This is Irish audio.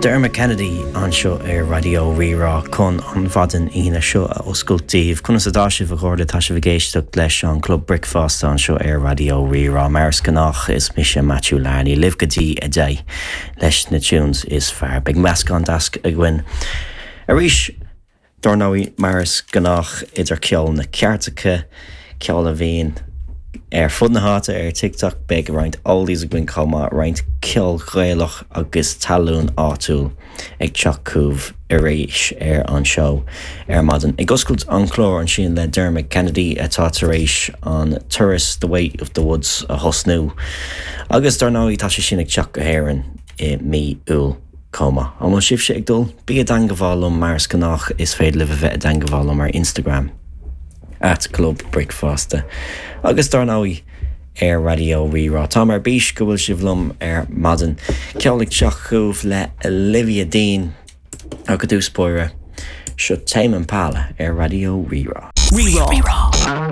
Dermot Kennedy anseo ar Raidió Rí-Rá chun an mhaidin Aoine seo a oscailt daoibh. Conas atá sibh a chairde? Tá sibh ag éisteacht leis an Club Bricfeasta anseo ar Raidió Rí-Rá. Mar is gnách is mise Matthew Larney libh go dtí 10 leis na tunes is fearr. Beidh meascán deas againn arís. Dár ndóigh, mar is gnách, idir ceol na gcairteacha, ceol a bhíonn ar fud na háite ar TikTok, beidh roinnt oldies againn chomh maith, roinnt ceol Gaelach agus talún áitiúil ag teacht chugaibh arís ar an seó ar maidin. Ag oscailt an chláir ansin le Dermot Kennedy atá tar éis an turas The Way of the Woods a thosnú agus dár ndóigh tá sé sin ag teacht go hÉirinn i mí Iúil. chomh maith. An bhfuil sibhse ag dul? Bí i dteangabháil liom mar is gnách is féidir libh a bheith i dteangabháil liom ar Instagram at Club Bricfeasta agus dár ndóigh ar Raidió Rí-Rá. Táim ar bís go bhfuil sibh liom ar maidin. Ceol ag teacht chugaibh le Olivia Dean ach i dtús báire seo Tame Impala ar Raidió Rí-Rá. Rí-Rá.